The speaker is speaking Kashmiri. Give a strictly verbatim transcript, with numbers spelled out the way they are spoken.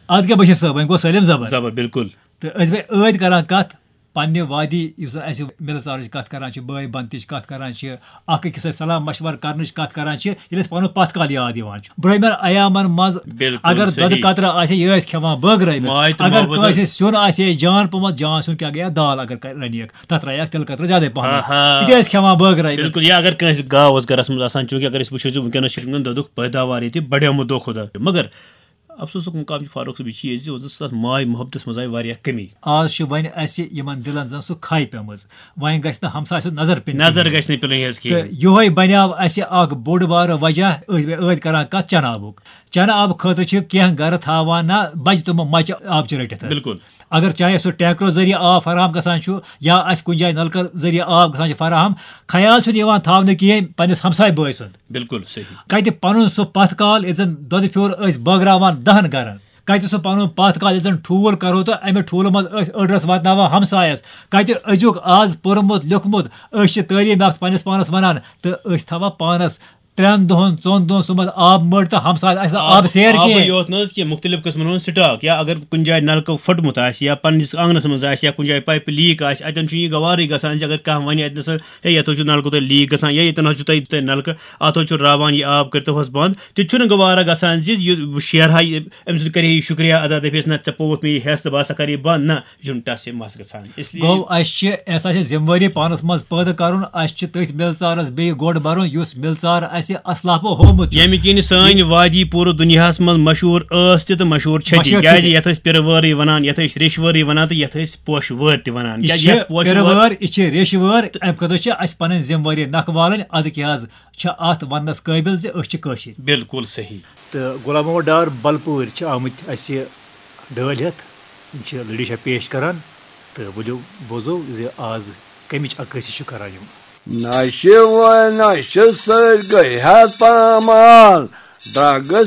اَدٕ کیٛاہ بشیٖر صٲب، وۄنۍ گوٚو سٲلِم زبر۔ زبر، بالکل۔ تہٕ أسۍ بیٚیہِ ٲدۍ کران کَتھ پننہِ وادی، یُس زَن اَسہِ مِلہٕ ژارٕچ کَتھ کران چھِ، بٲے بنتٕچ کَتھ کران چھِ، اَکھ أکِس سۭتۍ صلاح مشورٕ کرنٕچ کَتھ کران چھِ، ییٚلہِ اَسہِ پَنُن پَتھ کال یاد یِوان چھُ۔ برٛونٛہمٮ۪ن ایامَن منٛز بالکل اگر دۄدٕ صحیح۔ قطرٕ آسہِ ہے، یہِ ٲسۍ کھٮ۪وان بٲگرٲوِتھ۔ ماے تہٕ اگر محبت کٲنٛسہِ ٲس۔ سیُن آسہِ ہے جان پوٚمُت، جان سیُن کیٛاہ گٔیے، دال اگر کَرِ-، رَنہِ ہیٚکھ، تَتھ ترٛایہِ اَکھ تِلہٕ قطرٕ زیادَے پَہم۔ آہا۔ یہِ تہِ ٲسۍ کھٮ۪وان بٲگرٲوِتھ۔ بالکل، یا اگر کٲنٛسہِ گاو اوس گرس منٛز آسان، چوٗنٛکہِ اگر أسۍ وٕچھو زِ وٕنکیٚنس چھُ وٕنکیٚن دۄدُک پیداوار ییٚتہِ بڑیومُت دۄہ کھۄتہٕ دۄہ، مگر افسوسُک مُقام چھُ فاروق صٲب یہِ چیٖز زِ وۄنۍ زن سُہ تتھ ماے محبتس منٛز آیہِ واریاہ کٔمی۔ آز چھِ وۄنۍ اَسہِ یِمن دِلن زن سُہ کھے پیمٕژ، وۄنۍ گژھِ نہٕ ہمسایہِ سُنٛد نظر پینۍ نظر کِہیٖنۍ۔ گژھِ نہٕ پِلٕنۍ حظ تہٕ کِہیٖنۍ۔ یِہوے بنیو اَسہِ اکھ بوٚڑ بارٕ وجہ، أسۍ بیٚیہِ ٲدۍ کران کتھ چنہٕ آبُک۔ چنہٕ آبہٕ خٲطرٕ چھِ کینٛہہ گرٕ تھاوان نہ بجہِ تِمو مچہِ آبچہِ رٔٹِتھ حظ۔ بالکل۔ اگر چاہے سُہ ٹینکرو ذٔریعہٕ آب فراہم گژھان چھُ یا اَسہِ کُنہِ جایہِ نلکہٕ ذٔریعہٕ آب گژھان چھُ فراہم، خیال چھُنہٕ یِوان تھاونہٕ کِہیٖنۍ پننِس ہمسایہِ بٲے سُنٛد۔ بالکل صحیح۔ کتہِ پنُن سُہ پتھ کال، ییٚتہِ زن دۄدٕ پھیوٚر ٲسۍ بٲگراوان دہن گرن، کتہِ سُہ پنُن پتھ کال، ییٚتہِ زن ٹھوٗل کرو تہٕ امہِ ٹھوٗلہٕ منٛز ٲسۍ أڑ رس واتناوان ہمسایس، کتہِ أزیُک آز پوٚرمُت لیوٚکھمُت، أسۍ چھِ تعلیٖم یافتہٕ پننِس پانس ونان تہٕ أسۍ تھاوان پانس ترٛٮ۪ن دۄہن ژۄن دۄہن صُبحس آب مٔٹ تہٕ ہمسایس آسہِ نہٕ آب سیر آبٕے کینٛہہ۔ یوت نہٕ حظ کینٛہہ، مُختٔلِف قٕسمَن ہُنٛد سٹاک، یا اگر کُنہِ جایہِ نلکہٕ پھٔٹمُت آسہِ یا پننِس آنٛگنَس منٛز آسہِ یا کُنہِ جایہِ پایپہِ لیٖک آسہِ، اَتٮ۪ن چھُ یہِ گوارٕے گژھان زِ اگر کانٛہہ وَنہِ اَتہِ نَسا، ہے، یَتھ حظ چھُ نلکہٕ تۄہہِ لیٖک گژھان یا ییٚتٮ۪ن حظ چھُ تۄہہِ، تۄہہِ نلکہٕ، اَتھ حظ چھُ راوان یہِ آب، کٔرۍتو حظ بنٛد، تہِ چھُنہٕ گوارا گژھان زِ یہِ بہٕ شیرٕ ہا یہِ، أمۍ سُنٛد کَرِ ہے یہِ شُکریہ ادا، دَپہِ ہے نہ، ژےٚ پووُتھ مےٚ یہِ حٮ۪س تہٕ بہٕ ہسا کَرٕ یہِ بنٛد۔ نہ، یہِ چھُنہٕ ٹَس یہِ مَس گژھان۔ اس لیے گوٚو اَسہِ چھِ، اَسہِ آسہِ ذمہٕ وٲری پانس منٛز پٲدٕ کرُن، اَسہِ چھِ تٔتھۍ مِلژارس بیٚیہِ گۄڈٕ برُن یُس مِلژار اَسہِ اسلافو ہوومُت چھُ۔ ییٚمہِ کِنۍ سٲنۍ وادی پوٗرٕ دُنیاہس منٛز مشہوٗر ٲس تہِ تہٕ مشہوٗر چھےٚ تہِ، مشہوٗر چھےٚ کیازِ تہِ۔ یتھ أسۍ پِرٕ وٲرٕے ونان، یتھ أسۍ ریٚشہِ وٲرٕے ونان تہٕ یتھ أسۍ پوشہٕ وٲرۍ تہِ ونان۔ یہِ کیازِ چھِ یتھ پوشہٕ پِرٕ وٲرۍ وٲر، یہِ چھِ ریٚشہِ وٲر، امہِ خٲطرٕ چھِ اسہِ پنٕنۍ ذمہٕ وٲری نکھٕ والٕنۍ۔ ادٕ کیٛاہ حظ چھِ اتھ وننس قٲبِل زِ أسۍ چھِ کٲشِرۍ۔ بالکل صحیح۔ تہٕ غلام محمد ڈار بلپوٗرۍ چھِ آمٕتۍ اسہِ ڈٲلۍ ہٮ۪تھ، یِم چھِ لٔڈی شاہ پیش کران۔ تہٕ ؤلِو بوزو زِ آز کمِچ عکٲسی چھِ کران یِم۔ نشہِ وٲلۍ نشہِ سۭتۍ گٔے ہتھ پامال، ڈرگہٕ